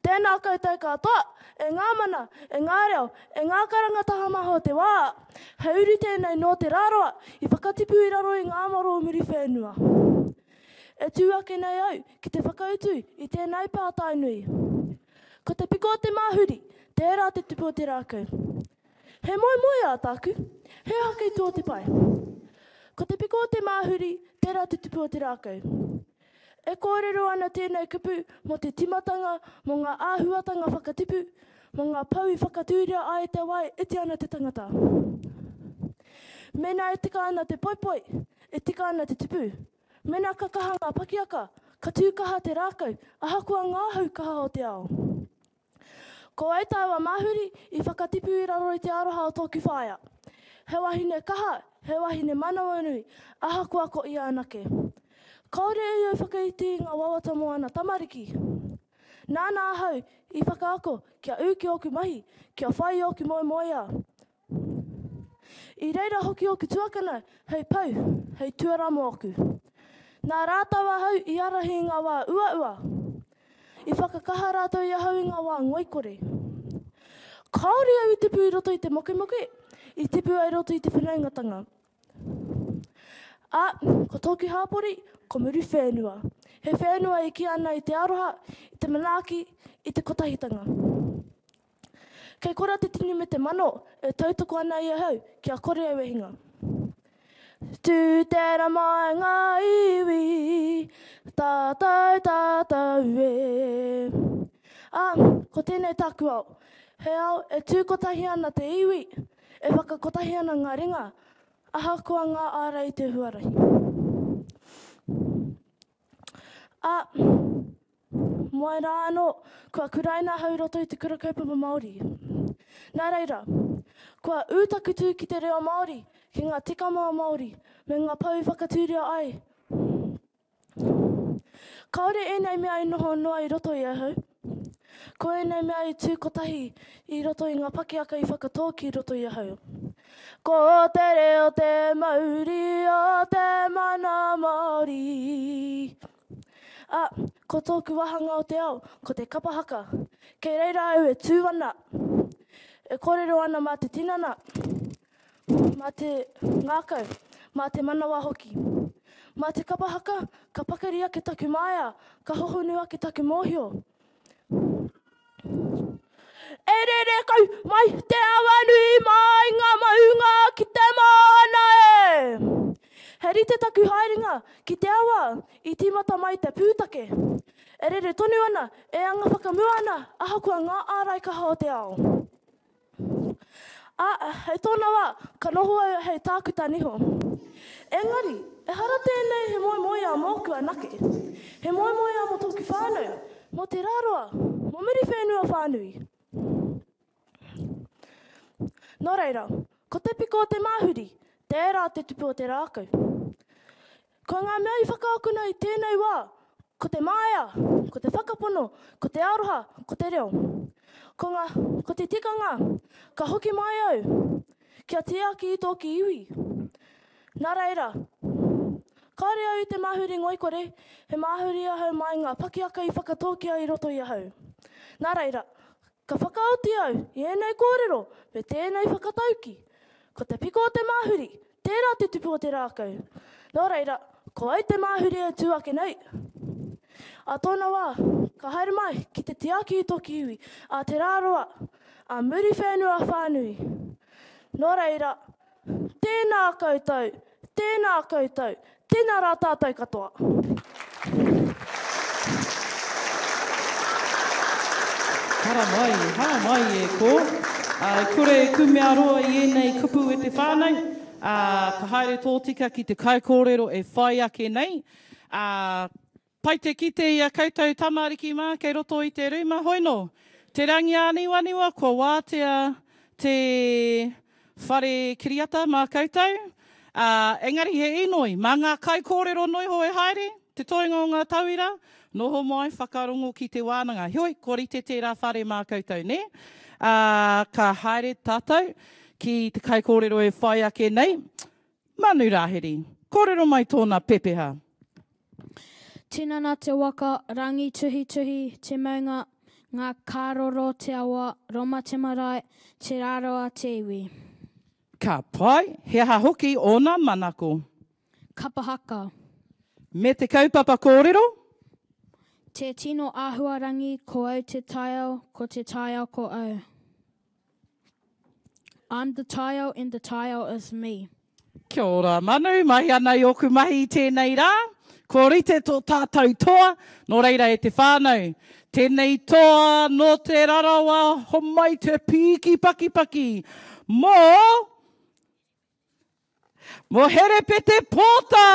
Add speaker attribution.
Speaker 1: Tēnā koutou katoa, e ngā mana, e ngā reo, e ngā karanga taha maha o te wā. He uri tēnei nō Te Rāroa i whakatipu i raro i ngā maro o Muriwhenua. E tū ake nei au ki te whakautu i tēnei pātai nui. Ko te piko o te māhuri, tērā te tupu o te rākau. He moemoeā tāku, he aha kei tua o te pae? Ko te piko o te māhuri, tērā te tupu o te rākau. E kōrero ana tēnei kupu mō te timatanga, mō ngā āhuatanga whakatipu, mō ngā pou i whakatūria ai te wā e iti ana te tangata. Mēnā e tika ana te poipoi, e tika ana te tupu. Mēnā ka kaha ngā pakiaka, ka tū kaha te rākau, ahakoa ngā hau kaha o te ao. Ko au tāua Māhuri i whakatipu i raro i te aroha o tōku whaea. He wahine kaha, he wahine manawanui, ahakoa ko ia anake. Kāore ia i whakaiti i ngā wawata mō ana tamariki. Nāna ahau i whakaako kia ū ki ōku mahi, kia whai i ōku moemoeā. I reira hoki ōku tuakana hei pou, hei tuarā mōku. Nā rātou ahau i ārahi i ngā wā uaua. I whakakaha rātou i ahau i ngā wā ngoikore. Kāore au i tipu i roto i te mokemoke, i tipu au i roto i te whanaungatanga. Ā, ko tōku hāpori, ko Muriwhenua. He whenua e kī ana i te aroha, i te manaaki, i te kotahitanga. Kei kora te tini me te mano e tautoko ana i ahau kia kore au e hinga. Tū te rama e ngā iwi, tātou tātou e. Ā, ko tēnei tāku ao. He ao e tū kotahi ana te iwi, e whakakotahi ana ngā ringa, ahakoa ngā ārai i te huarahi. Ā, moe rā anō, kua kuraina ahau i roto i te kura kaupapa Māori. Nā reira, kua ū taku tū ki te reo Māori, ki ngā tikanga Māori, me ngā pou i whakatūria ai. Kāore ēnei mea i noho noa i roto i ahau. Ko ēnei mea i tū kotahi i roto i ngā pakiaka i whakatō ki roto i ahau. Ko te reo te mauri o te mana Māori. Ā, ko tōku wāhanga o te ao, ko te kapa haka. Kei reira au e tū ana, e kōrero ana mā te tinana, mā te ngākau, mā te manawa hoki. Mā te kapa haka, ka pakari ake taku māia, ka hohonu ake taku mōhio. E rere kau mai te awa nui mai ngā maunga ki te moana e. He rite taku haerenga ki te awa i tīmata mai te pūtake. E rere tonu ana, e anga whakamua ana ahakoa ngā ārai kaha o te ao. Ā, hei tōna wā, ka noho au hei tākuta niho. Engari, ehara tēnei he moemoeā mōku anake. He moemoeā mō tōku whānau, mō Te Rāroa, mō Muriwhenua whānui. Nō reira, ko te piko o te māhuri, tērā te tupu o te rākau. Ko ngā mea i whakaakona i tēnei wā, ko te māia, ko te whakapono, ko te aroha, ko te reo. Ko ngā, ko te tikanga, ka hoki mai au, kia tiaki i tōku iwi. Nā reira, kāore au i te māhuri ngoikore, he māhuri ahau mai ngā pakiaka i whakatōkia i roto i ahau. Nā reira, Ka whakaoti au i ēnei kōrero me tēnei whakatauki, Ko te piko o te māhuri, tērā te tupu o te rākau. Nō reira, ko au te māhuri e tū ake nei. Ā tōna wā, ka haere mai ki te tiaki i tōku iwi, a Te Rāroa, a Muriwhenua whānui. Nō reira, Tēnā koutou, tēnā koutou, tēnā rā tātou katoa.
Speaker 2: Haramai, haramai e kō. Ā, e kore e kumea roa i ēnei kupu e te whānau, ā, ka haere tōtika ki te kaikōrero e whai ake nei, ā, Pai te kite i a koutou tamariki mā kei roto i te rūma hoino. Te rangi āniwaniwa kua wātea te whare kiriata mā koutou. Ā, engari he inoi, mā ngā kaikōrero noiho e haere, te toenga o ngā tauira, noho mai, whakarongo ki te wānanga. Heoi, kua rite tērā whare mā koutou, nē? Ā, ka haere tātou ki te kaikōrero e whai ake nei, Manu Rāhiri. Kōrero mai tōna pepeha.
Speaker 3: Tinana te waka, rangi tuhituhi te maunga, Ngā Karoro te awa, Roma te marae, Te Rarawa te iwi.
Speaker 2: Ka pai, he aha hoki ōna manako?
Speaker 3: Kapa haka.
Speaker 2: Me te kaupapa kōrero?
Speaker 3: Te tino āhuarangi, ko au te taiao, ko te taiao ko au. I'm the taiao and the taiao is me.
Speaker 2: Kia ora Manu, mahi ana i ōku mahi i tēnei rā. Kua rite tō tātou toa, nō reira e te whānau, tēnei toa nō Te Rarawa homai te pīki pakipaki mō Mō Herepete Pōta!